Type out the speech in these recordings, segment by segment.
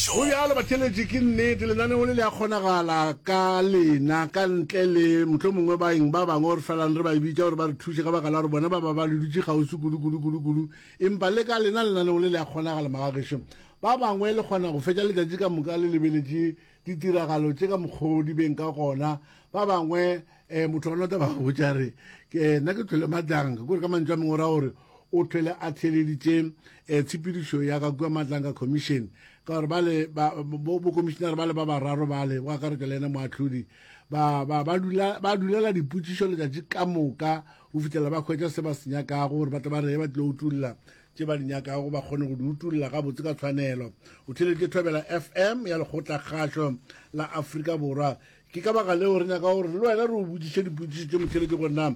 gešo. Go bjalo batheeletši, ke nnete lenaneo le le a kgonagala ka lena ka ntle le mohlomongwe baeng ba bangwe re felang re ba bitša gore ba re thuše ka baka la gore bona ba ba ba le dutše kgauswi kudu kudu kudu kudu, empa le ka lena lenaneo le le a kgonagala magagešo. Ba bangwe le kgona go fetša letšatši ka moka le lebeletše ditiragalo tše ka mokgwa di beng ka gona. Ba bangwe um motho wa nota ba go botša re ke nna ke thwele Matlanga, kore ka mantšu a mangwe o ra gore o thwele a theeleditše um tshepedišo ya ka kua Matlanga Commission ka gore bale bokomišinare bale ba bararo bale go akaretšwa le yena moahlodi ba ba ba dula ba dulela dipotšišo letšatši ka moka go fihlela ba hwetša se ba se nyakago gore ba tle ba re ba tlilo utulla tše ba di nyakago ba kgone go di utulla gabotse ka tshwanelo. O theeleditše Thobela FM ya Lekgotlakgašo la Afrika Borwa. Ke ka baka leo re nyaka gore le wena re o botšiše dipotšišo tše motheeletši gore na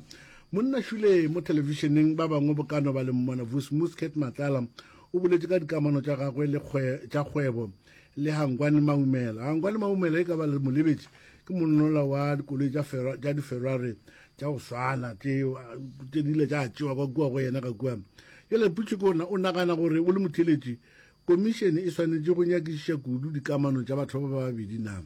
monna šule mo thelebišeneng ba bangwe bokano ba le mmona Vusi Cat Matlala o boletše ka dikamano tša gagwe le tša kgwebo le Hangwani Maumela. Hangwani Maumela e ka ba le molebetši ke monnola wa dikoloi tša di-Ferrari tša go swana tše tše di ile tša tšewa kwa kua go yena ka kua. Jale potšo ke ona o nagana gore o le motheeletši komišene e swanetše go nyakišiša kudu dikamano tša batho ba ba babedi na?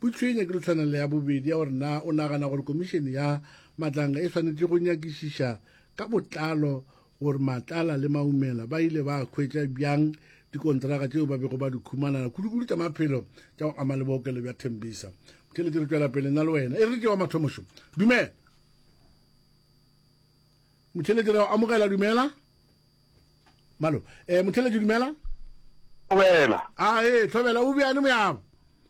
Potšo e nyakile tshwana le ya bobedi ya gore na o nagana gore komišene ya Matlanga e swanetše go nyakišiša ka botlalo gore Matlala le Maumela ba ile ba hwetša bjang dikontraka tšeo ba bego ba di khumanana, kudu-kudu tša maphelo tša go ama le bookelo bja Tembisa. Motheeletši, re tšwela pele nna le wena. E re ke wa mathomošo. Dumela. Motheeletši, re a amogela, dumela. Malo. Eh, motheeletši, dumela. Thobela. A ee, thobela, o bjane moyabo?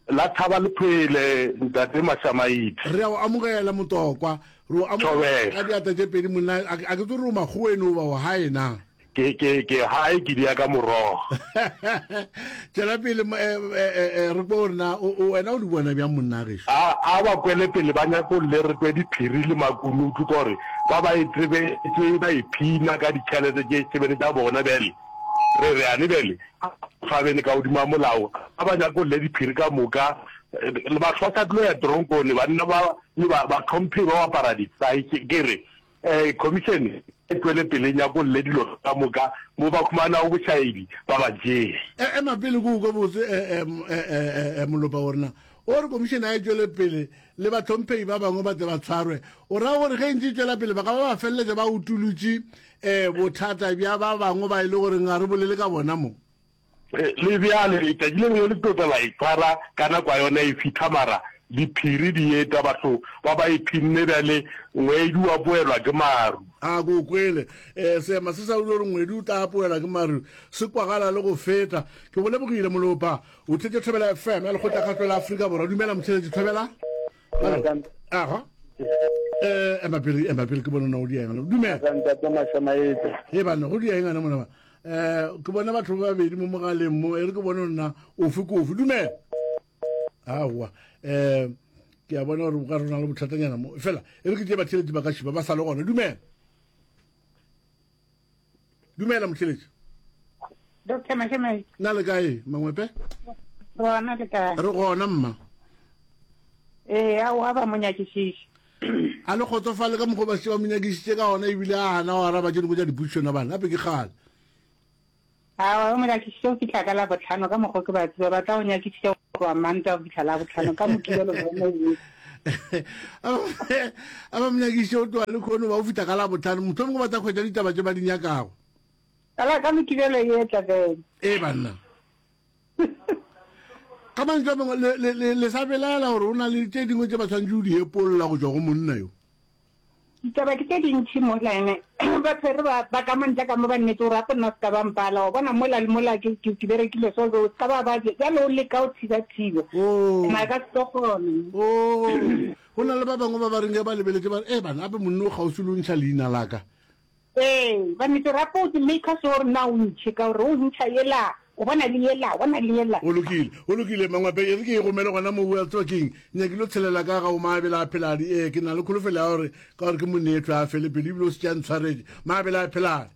La thaba le phele, ntate Mašamaite. Re a o amogela Motokwa. Re o amogela ka diatla tše pedi monna. A ke tsebe gore o makgoweng goba o gae na? Ke, ke, ke gae ke dia ka morogo. Tšwela pele re kwe gore na wena o di bona bjang monna gešo. A, a ba kwele pele ba nyakolle re kwe diphiri le makunutu ka gore ba ba e tsebetše ba iphina ka ditšhelete tše sebele tša bona bjale re re ane bjale Fa bene ka godimo ga molao, a ba nyakolle diphiri ka moka. Le batho ba sa tlo ya tronkone, banna ba le ba batlhomphegi ba apara disae. Ke re eh, commission e tšwele pele e nyakolle dilo ka moka mo ba khumanago bošaedi ba ba tšee. E, ema pele ke o kwe botse eh, eh, eh, Molopa gore na o re commission a e tšwele pele le batlhomphegi ba bangwe ba tle ba tshwarwe. O ra gore ge e ntse e tšwela pele ba ka ba ba feleletša ba utulutše Ee, bothata bja ba bangwe ba e le goreng ga re bolele ka bona mo. Le bjale, letšatši le lengwe le tlo tla la e tshwara ka nako ya yona e fihla, mara diphiri di eta, batho ba ba iphinne bjale, ngwedi o apoelwa ke maru. A ke o kwele. Ee, seema se sa gore ngwedi o tla apoelwa ke maru se kwagala le go feta. Ke go lebogile, Molopa. O tletše Thobela FM ya Lekgotlakgašo la Afrika Borwa. Dumela, motheeletši Thobela. Aga. Eh, ema pele, ema pele ke bona na o di eng. Dumela. Ntate Mashamaetse. He bana, go di eng ana mona ba. Eh, ke bona batho ba babedi mo mogaleng mo, e re ke bona nna ofe ke ofe. Dumela. Aowa. Eh, ke a bona gore ka rona le bothatanyana mo. Fela, e re ke tše batheletši ba ka šiba ba sa le gona. Dumela. Dumela motheletši. Doctor Mashamaetse. Na le kae, Mangwepe? Rona le kae? Re gona mma. Ee, aowa ba mo nyakišiše. A le kgotsofale ka mokgwa ba šetše ba mo nyakišitše ka gona ebile a gana go araba tše dingwe tša dipotšišo na bana? Gape ke kgale. Aowa, ba mo nyakišitše go fihla ka Labohlano ka mokgwa ke ba tseba, ba tla go nyakišiša go tloga Mantaga go fihla Labohlano ka Mokibelo bone e. A ba mo nyakišitše go tloga lekhono ba go fihla ka Labohlano, mohlomongwe ba tla hwetša ditaba tše ba di nyakago. Ka la ka Mokibelo e etla bene. Ee banna. Ka mantšu a mangwe, le, le, le, le sa belaela gore o na le tše dingwe tše ba swanetše go di epolla go tšwa go monna yo? Ditaba ke tše dintši mola ene ba tshwere ba, ba ka mo ntle ka mo ba nnete gore gape nna se ka ba mpala, wa bona mola le mola ke, ke, ke berekile so, o se ka ba ba bjale o leka o thiba-thiba. Oh. Mara ka se tlo kgona. Oh. Go na le ba bangwe ba ba reng ge ba lebeletše ba re, e bana, gape monna o kgauswi le o ntšha leina la ka. Ee, ba nnete rapo o maker sure gore na o ntšhe ka gore o ntšha yela, o bona le yela, o bona le yela. Go lokile, go lokile Mangwape, e re ke e gomele gona mo wa tseba keng, nyakile o tshelela ka ga o Maabela a Pheladi, ee ke na le kholofelo ya gore ka gore ke monetho a fele pelo ebile o se tša ntshwaretše, Maabela a Pheladi.